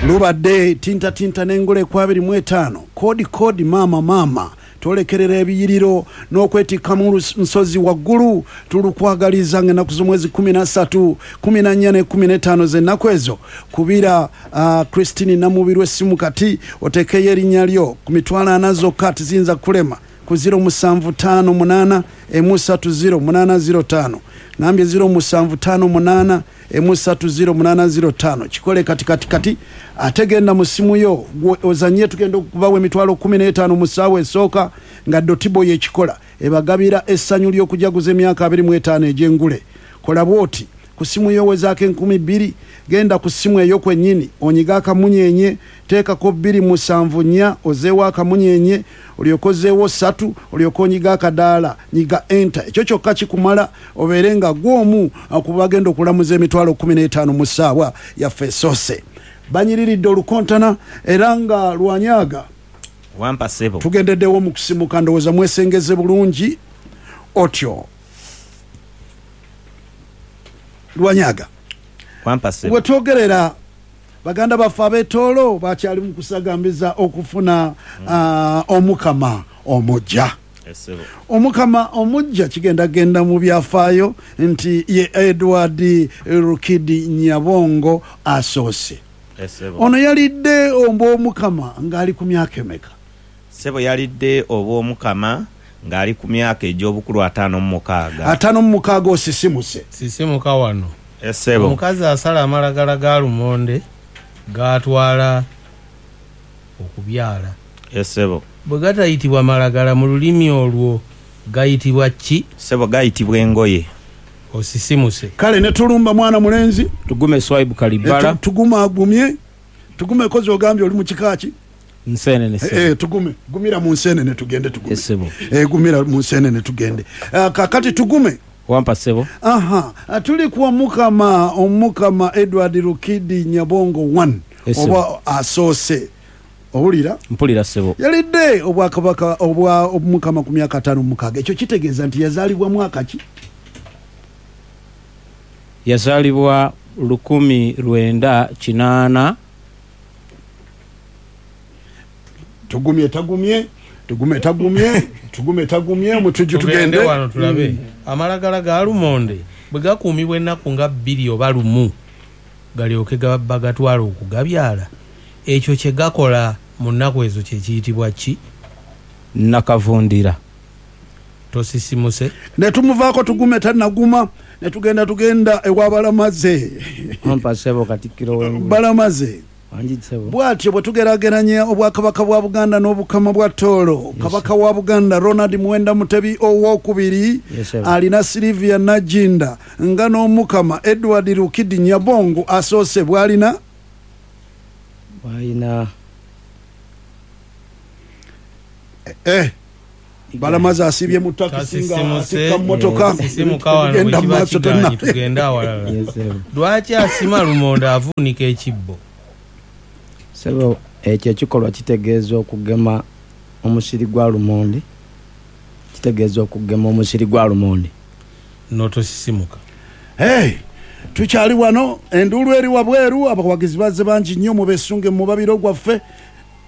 Lubadde tintatinta n'engule ku 25, koodi koodi maama maama, twolekerera ebiyiriro n'okwetikka mu nsozi waggulu. Tulukwagaliza ng'ennaku z'omwezi 13, 14 ne 15 z'ennaku ezo. Kubira Christine Namubiru essimu kati oteekeyo erinnya lyo ku 40,000 zokka, tiziyinza kulema ku 0758 130 805. Ngambye 0758 130 805. Kikole kati kati kati, ate genda mu ssimu yo ozanye. Tugenda okubawa 15,000 mu ssaawa esooka nga Dotibo yekikola ebagabira essanyu ly'okujaguza emyaka 25 egy'engule. Kola bw'oti: ku ssimu yo wezaako 2000, genda ku ssimu eyo kwennyini onyiga akamunyenye, teekako 274, ozeewo akamunyenye, olyoke ozeewo 3, olyoke onyiga akadaala, nyiga enter. Ekyo kyokka kikumala obeere nga gw'omu kubagenda okulamuza 15,000 mu ssaawa yaffe esoose. Banyiriridde olukontana era nga lwanyaga. Wampa ssebo. Tugendeddewo mu kusimuka, ndowooza mwesengeze bulungi otyo. Lwanyaga, Wampa ssebo. Wetwogerera baganda baffe ab'Etoolo bakyali mu kusagambiza okufuna omukama omujja. Essebo. Omukama omujja kigenda genda mu byafaayo nti ye Edward Rukidi Nyabongo asoose. Essebo. Ono yalidde obwomukama ng'ali ku myaka emeka? Ssebo, yalidde obwomukama ng'ali ku myaka egy'obukulu 56. 56, osisimuse. Sisimuka wano. Essebo. Omukazi asala amalagala ga lumonde gatwala okubyala. Essebo. Bwe gatayitibwa malagala mu lulimi olwo gayitibwa ki? Ssebo, gayitibwa engoye. Osisimuse. Kale ne tulumba mwana mulenzi. Tugume Swaibu Kalibala. Tugume agumye, tugume kozi ogambye oli mu kika ki? Nsenene. Eh, tugume, gumira mu nsenene tugende, tugume. Essebo. Eh, gumira mu nsenene tugende. Kakati tugume. Wampa ssebo. Aha, tuli ku omukama, omukama Edward Rukidi Nyabongo 1 Essebo. oba asoose. Owulira? Mpulira ssebo. Yalidde obwakabaka obwa omukama ku myaka 56. Ekyo kitegeeza nti yazaalibwa mwaka ki? Yazaalibwa 1980. Tugumye tagumye, tugume tagumye, tugume tagumye, mutujju. Tugende Tugende wano tulabe. Amalagala ga lumonde bwe gakuumibwa ennaku nga 2 oba 1 galyoke bagatwala okugabyala, ekyo kye gakola mu nnaku ezo kye kiyitibwa ki? Nakavundira. Tosisimuse. Ne tumuvaako, tugume tanaguma, ne tugenda, tugenda ewabalamaze. Wampa ssebo, Katikkiro w'engulu. Balamaze. Wangi ssebo. Bw'atyo bwe tugeraageranya obwakabaka bwa Buganda n'obukama bwa Tooro, kabaka wa Buganda Ronald Muwenda Mutebi owokubiri Yes, sir. alina Silivia Najinda, nga n'omukama Edward Rukidi Nyabongo asoose bw'alina Bwalina eh, Balamaze asiibye mu takisi nga Tasisimuse. atikka mmotoka. Sisimuka wano. Tugenda Bwe kiba mu maaso. kigaanyi tugende awalala. Yes, ssebo. Lwaki asima lumonde avuunika ekibbo? Ssebo, ekyo ekikolwa kitegeeza okugema omusiri gwa lumonde, kitegeeza okugema omusiri gwa lumonde. Notosisimuka. Hey, tukyali wano, enduulu eri wabweru, abawagizi bazze bangi nnyo. Mubesunge mu mubabiro gwaffe.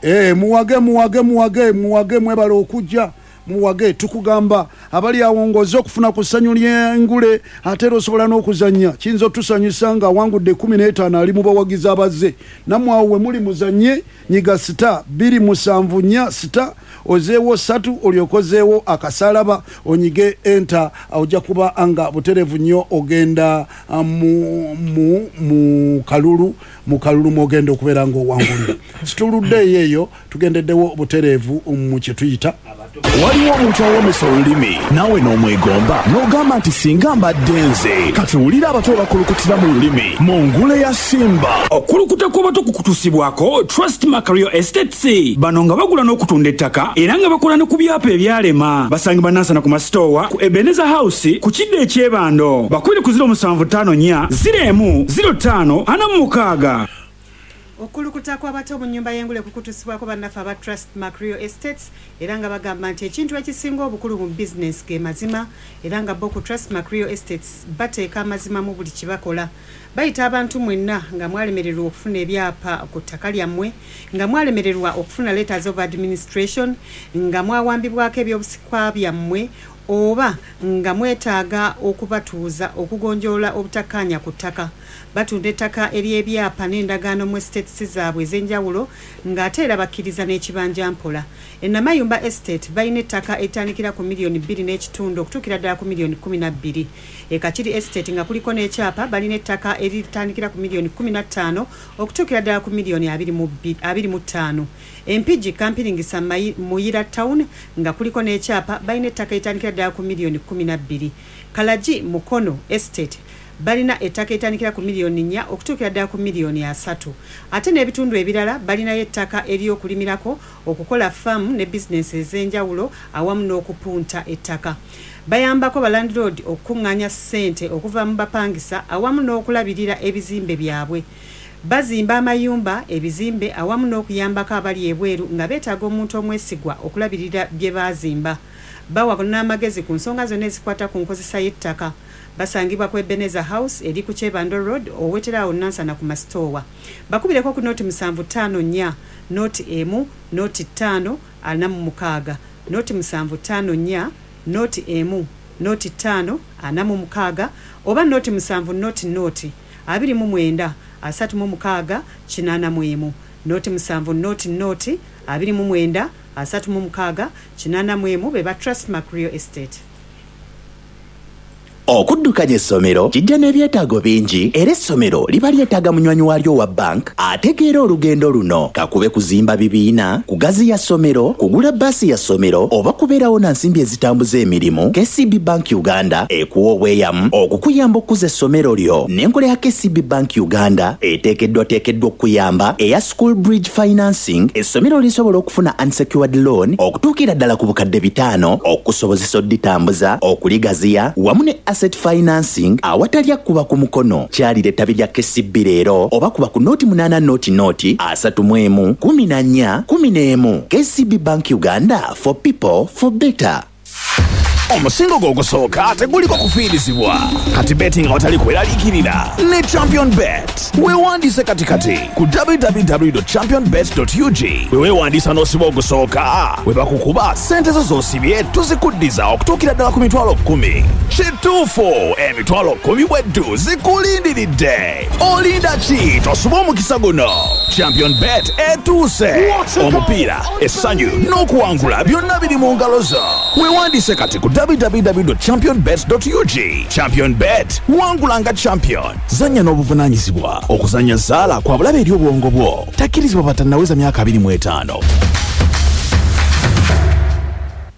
Eh, muwage, muwage, muwage, muwage, mwebale okujja, muwage. Tukugamba abali awo ng'ozze okufuna ku ssanyu ly'engule, ate era osobola n'okuzannya. Kiyinza otusanyusa nga awangudde 15 ali mu bawagizi abazze. Nammwe awo we muli muzanye, nyiga *274 star, ozeewo 3, olyoke ozeewo akasalaba, onyige enter. Ojja kuba nga buterevu nnyo ogenda mu kalulu mwogenda okubeera ng'owangulira. Situluddeeyo eyo, tugendeddewo butereevu mu kye tuyita Waliwo omuntu awomesa olulimi naawe n'omwegomba n'ogamba nti singa mbadde nze. Kati wulira abato bakulukutira mu lulimi mu ngule ya Simba. Okulukuta kw'abato kukutuusibwako Trustmark Real Estates. Bano nga bagula n'okutunda ettaka era nga bakola ne ku byapa ebyalema. Basangibwa Nansana ku Masitowa ku Ebeneza House ku kidda ekyebando. Bakubire ku 0754 01 05 46. Okulukuta kw'abato mu nnyumba y'engule kukutusibwako bannaffe aba Trust Mark Real Estates, era nga bagamba nti ekintu ekisinga obukulu mu bizinesi ge mazima, era nga bo ku Trust Mark Real Estates bateeka amazima mu buli kye bakola. Bayita abantu mwenna nga mwalemererwa okufuna ebyapa ku ttaka lyammwe, nga mwalemererwa okufuna letters of administration, nga mwawambibwako ebyobusikwa byammwe, oba nga mwetaaga okubatuuza okugonjoola obutakkaanya ku ttaka. Batunda ettaka ery'ebyapa n'endagaano mu estates zaabwe ez'enjawulo, ng'ate era bakkiriza n'ekibanja mpola. Enamayumba Estate balina ettaka eritandikira ku miliyoni 2.5 okutuukira ddala ku miliyoni 12. Ekakiri Estate nga kuliko n'ekyapa balina ettaka eritandikira ku miliyoni 15 okutuukira ddala ku miliyoni 25. Empigi Kampiringisa Muyira Town nga kuliko n'ekyapa balina ettaka eritandikira ddala ku miliyoni 12. Kalagi Mukono Estate balina ettaka eritandikira ku miliyoni 4 okutuukira ddala ku miliyoni 30. Ate n'ebitundu ebirala balinayo ettaka ery'okulimirako, okukola faamu ne bizinensi ez'enjawulo, awamu n'okupunta ettaka. Bayambako balandlord okukuŋŋaanya ssente okuva mu bapangisa awamu n'okulabirira ebizimbe byabwe. Bazimba amayumba, ebizimbe, awamu n'okuyambako abali ebweru nga beetaaga omuntu omwesigwa okulabirira bye baazimba. Bawa n'amagezi ku nsonga zonna ezikwata ku nkozesa y'ettaka. Basangibwa ku Ebenezer House eri ku Kyebando Road, oweterawo Nansana ku Masitoowa. Bakubireko ku 0754 01 05 46, 0754 01 05 46, oba 07 00 29 36 81, 07 00 29 36 81. Be ba Trustmark Real Estate. Okuddukanya essomero kijja n'ebyetaago bingi, era essomero liba lyetaaga munywanyi waalyo wa bank ategeera olugendo luno. Kakube kuzimba bibiina, kugaziya ssomero, kugula baasi ya ssomero, oba kubeerawo na nsimbi ezitambuza emirimu, KCB Bank Uganda ekuwa obweyamu okukuyamba okukuza essomero lyo. N'enkola ya KCB Bank Uganda eteekeddwateekeddwa okukuyamba eya School Bridge Financing, essomero lisobola okufuna unsecured loan okutuukira ddala ku 500,000 okusobozesa odditambuza, okuligaziya, wamu ne asset financing awatali akkuba ku mukono. Kyalira ettabi lya KCB leero oba kuba ku 080 00 31 14 11. KCB Bank Uganda, for people, for better. Omusingo gwe ogusooka teguliko kufiirizibwa. Kati betting awatali kweraliikirira ne Champion Bet. Weewandiise katikati ku www championbet ug. Bwe weewandiisa n'osiba ogusooka, bwe bakukuba, sente zo z'osibye tuzikuddiza okutuukira ddala ku 10,000. Kituufu, 10,000 bweddu zikulindiridde. Olinda ki? Tosuba omukisa guno. Champion Bet etuuse. Omupiira, essanyu n'okuwangula byonna biri mu ngalo zo. Weewandiise kati ku www championbet ug. Champion Bet, wangula nga champion. Zannya n'obuvunaanyizibwa. Okuzannya zaala kwa bulabe eri obwongo bwo. Takkirizibwa batannaweza myaka 25.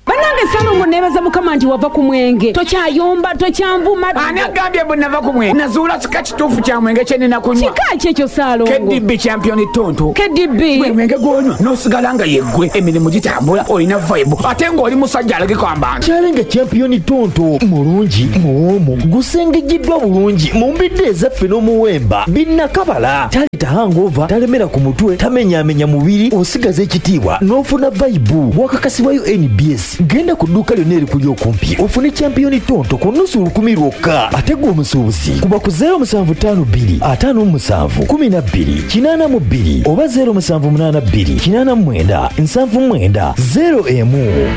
Bannange Salongo, neebaza Mukama nti wava ku mwenge, tokyayomba, tokyanvuma. Ani agambye bwe nava ku mwenge? Nazuula kika kituufu kya mwenge kye nina kunywa. Kika ki ekyo, Saalongo? KDB Champion Tonto. KDB? Gwe mwenge gwonywa n'osigala nga yeggwe, emirimu gitambula, olina vibe, ate ng'oli musajja alagika abantu. Kyalenga Champion Tonto mulungi, muwoomu, gusengejjeddwa bulungi mu mbidde ezaffe n'omuwemba binnakabala. Taleta hangover, talemera ku mutwe, tamenyaamenya mubiri, osigaza ekitiibwa n'ofuna vibe. Wakakasibwayo NBS. Genda ku dduuka lyonna erikuli okumpi ofune Champion Tonto ku nusu 1,000 lwokka. Ate gwe omusuubuzi, kuba ku 0752 57 12 82 oba 0782 89 79 01.